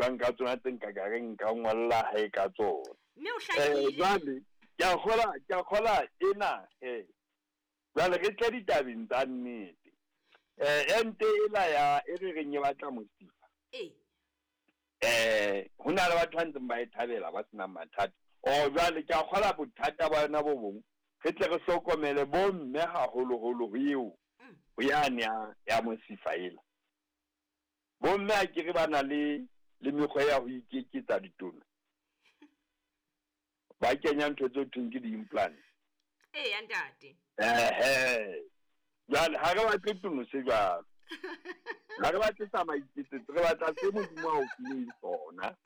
buang ka tsona tse nka ka reng nka ngolla hae ka tsona. Mme o hlakile. Jwale ke a kgola, ke a kgola ena he. Jwale re tle ditabeng tsa nnete. Ente ela ya e re reng e batla mosifa. Ee. Ho na le batho ba ntseng ba e thabela ba senang mathata. Oh jwale ke a kgola bothata ba yona bo bong. Re tle re hlokomele bo mme haholoholo ho eo. Ho yane ya ya mosifa ela. Bo mme a kere ba na le le mekgwa ya ho ikeketsa ditona. Ba kenya ntho tse thweng ke di-implant. Ee, ntate. Ehe. Jwale ha re batle tono se jwalo. Ha re batle sa maiketsetso, re batla se Modimo a o fileng sona.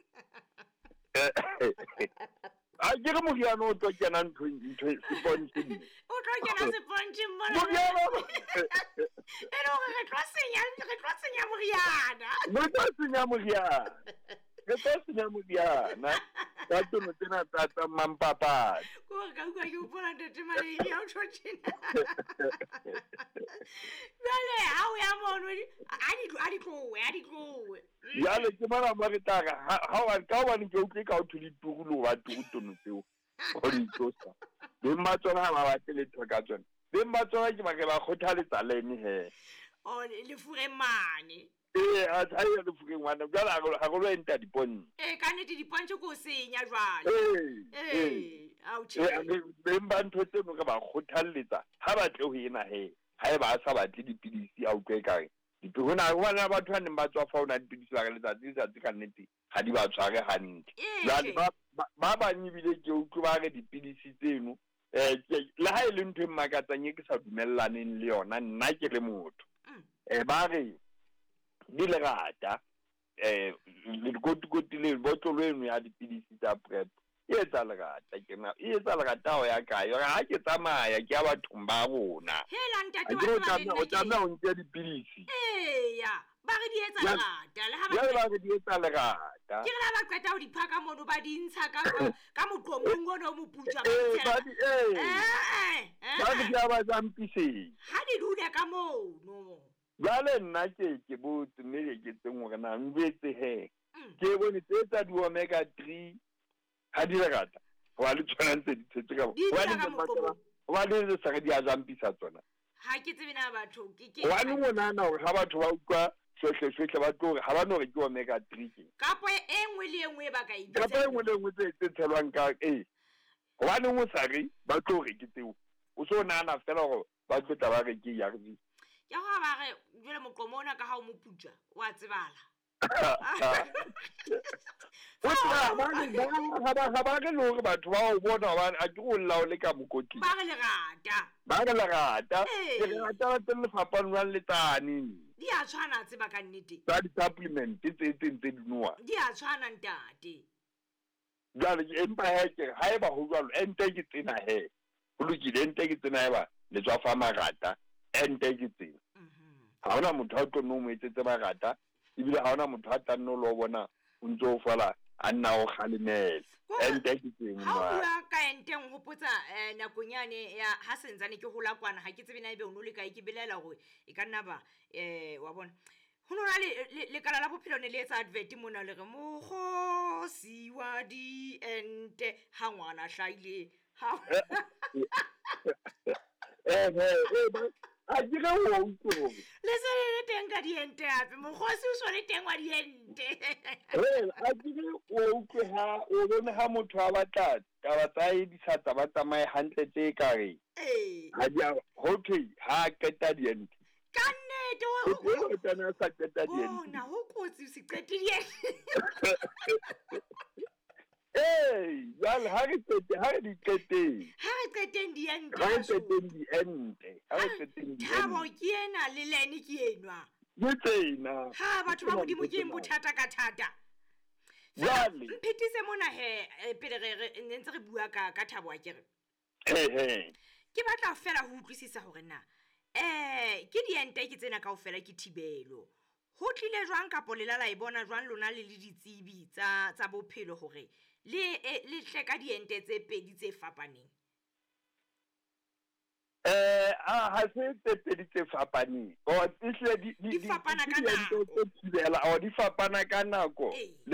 A ke re moriana o tlo kena ntho ntho sepontšeng. O tlo kena sepontšeng mona. Moriana. E le hore re tlo senya, re tlo senya moriana. Re tlo senya moriana. Re tlo senya moriana. Ka tono tsena tsa tsa mampapadi. Ko re ka utlwa ke hopola ntate Maledi ya o tjho tjena. Jwale ha o ya mono a di tlowe, a di tlowe. Jwale ke mona mo re tla re ha wa ka hobane ke utlwe ka o thole turu le ho ba turu tono tseo. Ho di tlosa. Beng ba tsona ha ba batle letho ka tsona. Beng ba tsona ke ba ke ba kgothaletsa lene he. O lefureng mane. Ee, a tsa ya lefureng ngwana. Jwale ha re lo enta dipontshe. Ee, ka nnete dipontshe ke o senya jwale. Ee, ee. Ao tjhe. Beng ba ntho tseno re ba kgothalletsa ha ba tle ho ena he. Ha eba a sa batle dipidisi a utlwe ekare. Ho na le batho ba neng ba tswa fa ho na dipidisi ba re letsatsi letsatsi ka nnete ha di ba tshware hantle. Jwale ba bang ebile ke utlwe ba re dipidisi tseno le ha e le ntho e mmakatsang e ke sa dumellaneng le yona nna ke le motho. Ba re di lerata lekotikoti le botlolo eno ya dipidisi tsa PrEP e etsa lerata ke na e etsa lerata ho ya kae hore ha ke tsamaya ke ya bathong ba rona. Hela ntate wa tseba le nna o tlameha o nke dipidisi. Eya, ba re di etsa lerata le ha ba ba re di etsa lerata. Ke re la ba qeta ho di phaka mono ba di ntsha ka ka moqomong ono o moputswa ba di Ba di ya ba jampiseng. Ha di dule ka mono. Jwale nna ke botse mme ke tseng hore na njwetse he. Ke bone tse tsa di omega 3 ha di lerata. Ho le tshwana ntse di tshetse ka ho le sa re di a jampisa tsona. Ha ke tsebe na batho ke Wa le ngwana hore ha batho ba utlwa sohle ba tlo hore ha ba no re ke omega 3 ke. Kapo e nngwe le e nngwe ba ka e bitsa. Kapo e nngwe le nngwe tse tshelwang ka e. Hobane o sa re ba tlo re ke tseo. O so nahana fela hore ba tlo tla ba re ke ARV. Ke go ba re jwale moqomo ona ka ha o moputswa o a tsebala. O tseba ba ba re le hore batho ba o bona hobane a ke o lla o le ka mokotleng. Ba re lerata. Ba re lerata. Ke lerata la teng le fapane le tsane. Di a tshwana tseba ka nnete. Tsa di-supplement tse tse ntse di nowa. Di a tshwana ntate. Jwale empa he ke ha eba ho jwalo ente ke tsena he. Ho lokile ente ke tsena eba le tswa fa marata ente ke tsena. Ha hona motho a tlo no mo etsetse marata ebile ha hona motho a tla nno lo bona o ntso o fola a nna o kgalemela. Ente ke tsena. Ha o bua ka ente nhopotsa nakong yane ya ha sentsane ke hola kwana ha ke tsebe na ebe o no le kae ke belaela hore e ka nna ba wa bona. Ho nona le lekala la bophelo ne le etsa advert mona le re mokgosi wa diente ha ngwana hlaile ha a ke re o utlwe le se le teng ka diente hape mokgosi o so le teng wa diente a ke re o utlwe ha o bone ha motho a batla taba tsa e di sa tsa ba tsamaye hantle tse ka re ha di a ho thwe ha qeta diente ka nnete o tsena sa qeta diente bona ho kotsi o se qete diente jwale ha re qete ha re di qeteng ha re qeteng diente ha re qeteng diente ha re qeteng diente Thabo ke ena le lene ke enwa ke tsena ha batho ba Modimo ke eng bothata ka thata jwale mphethise mona he pele re ntse re bua ka Thabo a ke re ke batla fela ho utlwisisa hore na ke diente ke tsena kaofela ke thibelo ho tlile jwang kapo lela la e bona jwang lona le le ditsebi tsa bophelo hore le tle ka diente tse pedi tse fapaneng? Ha se tse pedi tse fapaneng. O ehlile di fapana ka nako. Di fapana ka nako.